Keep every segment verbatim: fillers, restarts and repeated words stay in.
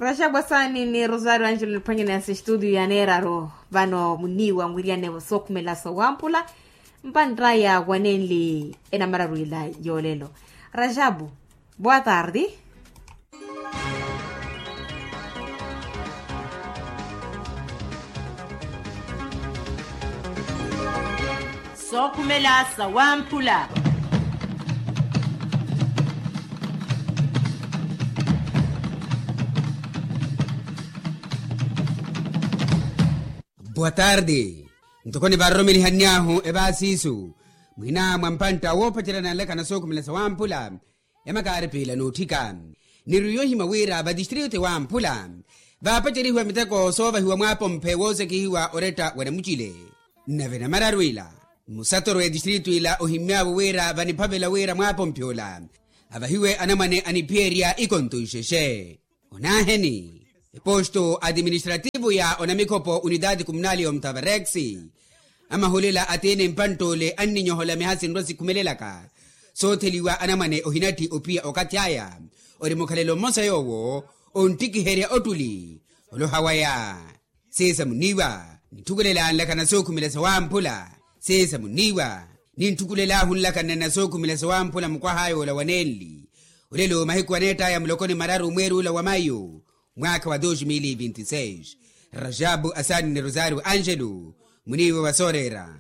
Raxapu asaani ni rosario angelo niphwanyaneya s'estudio ya neeraru. Vano muniiwa mwiriyanevo sookhumela sawamphula mpantt'aya wa nenli enamararuwela yoolelo. Raxapu, boa tarde. Sookhumela sawamphula. Boa tarde. Ntoko nivaroromelihanny'ahu evaasiisu mwina mwa mpantta woopacerya nanlekana sookhumela sawamphula. Emakaari piila n'utthika niriyo ohimya wira vatistritu ewamphula vaapacerihiwa miteko soovahiwa mwaapomphe woosekihiwa oretta wa namucile. Nave namararu ila musatoro w'etistritu ila ohimmy'avo wira vaniphavela wira mwaapomphe ola avahiwe anamwane aniphiyerya ikonto ixexe. Onaaheni eposto atiministrativu ya onamikhopo unitati kumunali ya omutavarex amahulela atiini mpantt'ole anninyohola miha sinrwa sikhumelelaka sootheliwa anamwane ohinatthi ophiya okathi aya ori mukhalelo mmosa yoowo onttikiherya ottuli oloha waya. Sisa muniiwa ninthukulela nlakana sookhumela sawamphula. Sisa muniiwa ninthukulel'ahu nlakana na sookhumela sawamphula mukwah'aya ola wa nenli olelo mahiku aneett'aya muloko ni mararu mweeri ula wa mayu mwaakha wa dos mil vinti seis. Raxapu asaani ni rosario angelo muniiwa wa sooreera.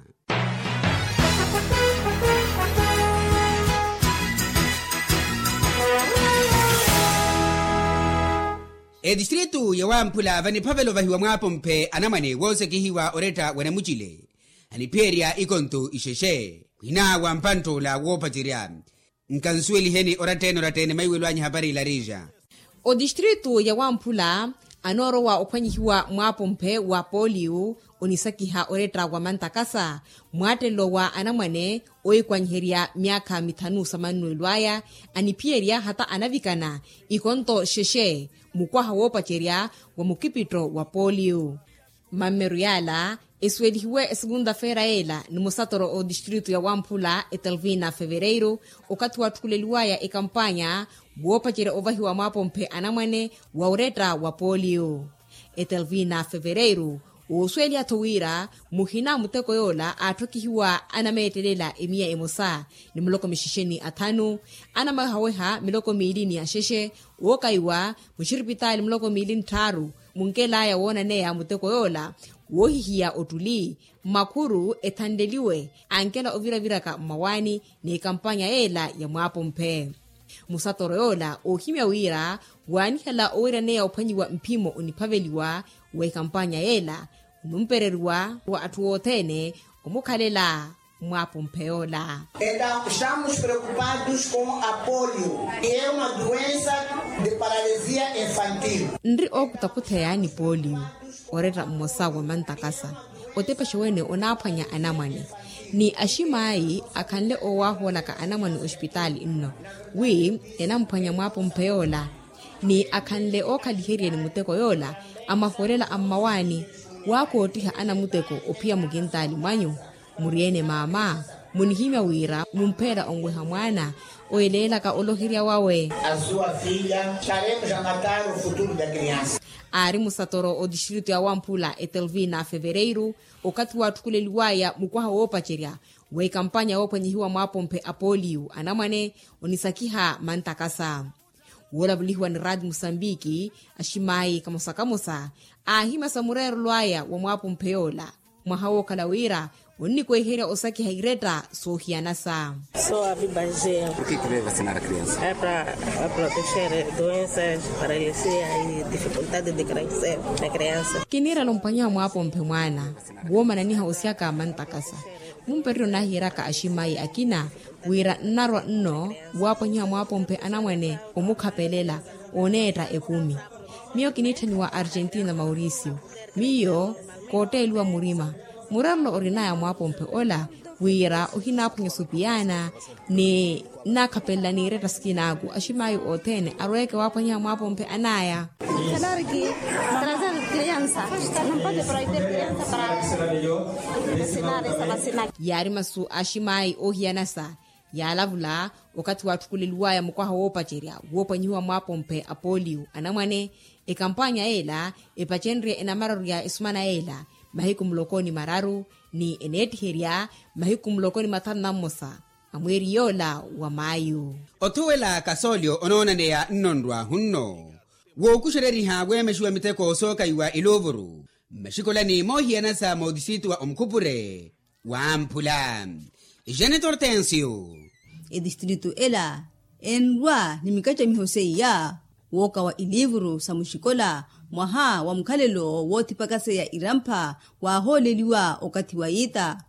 Etistritu ya wamphula vaniphavela ovahiwa mwaapomphe anamwane woosekihiwa oretta wa namucile aniphiyerya ikonto ixexe mwina wa mpantt'ola woopacerya. Nkansuweliheni oratta-ene oratta-ene maiwelo anyu ehapari ila riixa. Otistritu ya wamphula anoorowa ophwanyihiwa mwaapomphe wa poliyu onisakiha oretta wa mantakasa mwaattelo wa anamwane oikwanyiherya myaakha mithanu samannuwelo aya aniphiyerya hata anavikana ikonto xexe mukwaha woopacerya wa mukipitto wa poliyu. Mammeru yaala esuwelihiwe esukunta-feera yeela ni musatoro otistritu ya wamphula etelvina fevereiru okathi waatthukuleliwaya ekampanya woopacerya ovahiwa mwaapomphe anamwane wa oretta wa poliyu. Etelvina fevereiru oosuweliha-tho wira muhina a muteko yoola aatthokihiwa anameettelela emiya emosa ni muloko mixexe ni athanu anamawehaweha miloko miili ni axexe wookaiwa muxiripitaali muloko miili ni tthaaru munkel'aya woonaneya muteko yoola woohihiya ottuli mmakhuru ethanleliwe ankela oviraviraka mmawaani n'ekampanya yeela ya mwaapomphe. Musatoro yoola oohimya wira waanihela oweeraneya ophwanyiwa mphimo oniphaveliwa w'ekampanya yeela onumpereriwa wa atthu othene omukhalela mwaapomphe yoola. Entaw estamos preocupados com a polio, que é uma doença de paralisia infantil. Nri ookuthakutheya ni poliyu oretta mmosa wa mantakasa otepexa wene onaaphwanya anamwane ni aximaayi akhanle oowaahoolaka anamwane oxipitaali nno wi enamphwanya mwaapomphe yoola ni akhanle ookhaliheryeni muteko yoola amahoolela a mmawaani waakoottiha anamuteko ophiya mukintaali mwanyu. Muri-ene maama munihimya wira mumpheela onweha mwaana oyeleelaka oloherya wawe. Azuwa fiya taremu ja mataro futuru da kriansa. Aari musatoro otistritu ya wamphula etelvina fevereiru okathi waatthukuleliwaya mukwaha woopacerya w'ekampanya woophwanyihiwa mwaapomphe a poliyu anamwane onisakiha mantakasa woolavulihiwa ni raati musambiki aximaayi kamosa kamosa aahimya sa mureerelo aya wa mwaapomphe yoola mwaha wookhala wira onnikweherya osakiha iretta soohiyanasa. Soo avibaje. Para proteger doenças paralisia e dificuldade de crescer na criança. Kiniirela omphwanyiha mwaapomphe mwaana woomananiha osyaka mantakasa mumpereryo nahiyeryaka aximaayi akina wira nnarwa nno waaphwanyiha mwaapomphe anamwane omukhapelela oneetta ekumi. Miyo kiniitthaniwa argentina mauricio miyo kootteeliwa murima mureerelo orinaya mwaapomphe ola wira ohinaaphwanya supiyaana ni nnaakhapelela n'iretta sikinaaku aximaayi othene arweeke waaphwanyiha mwaapomphe anaya. Yaari masu aximaayi oohiyanasa Yaalavula okathi waatthukuleliwaya mukwaha woopacerya woopwanyihiwa mwaapompe a poliyo anamwane, ekampanya yeela epacenrye enamararya esumana yeela mahiku muloko ni mararu, ni eneettiherya mahiku muloko ni mathanu na mmosa a mweeri yoola wa maayu. Othuwela kasoolyo onoonaneya nnonrwa-hunno wookuxereriha weemexiwa miteko sookaiwa iluuvuru mmaxikolani moohiyanasa mootisitu wa omukhupure wamphula. Jeanette hortensio. Etistritu ela enrwa ni mikacamiho seiya wookawa iliivuru sa muxikola mwaha wa mukhalelo woothipakaseya irampha waahooleliwa okathi wa yiita.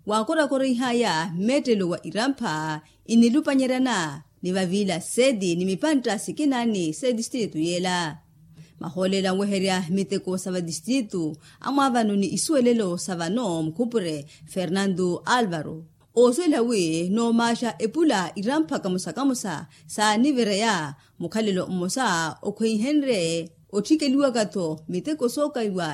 Waakorakorihaya mmeettelo wa irampha inilupanyeryana ni vaviila seti ni mipantta sikinaani s'etistritu yeela. Mahoolela nweherya miteko sa vatistritu amwaavano ni isuwelelo sa vano mukhupure fernando alvaro oosuwela wi noomaaxa epula irampha kamosa kamosa saanivereya mukhalelo mmosa okhweihenrye otthikeliwaka-tho miteko sookaiwa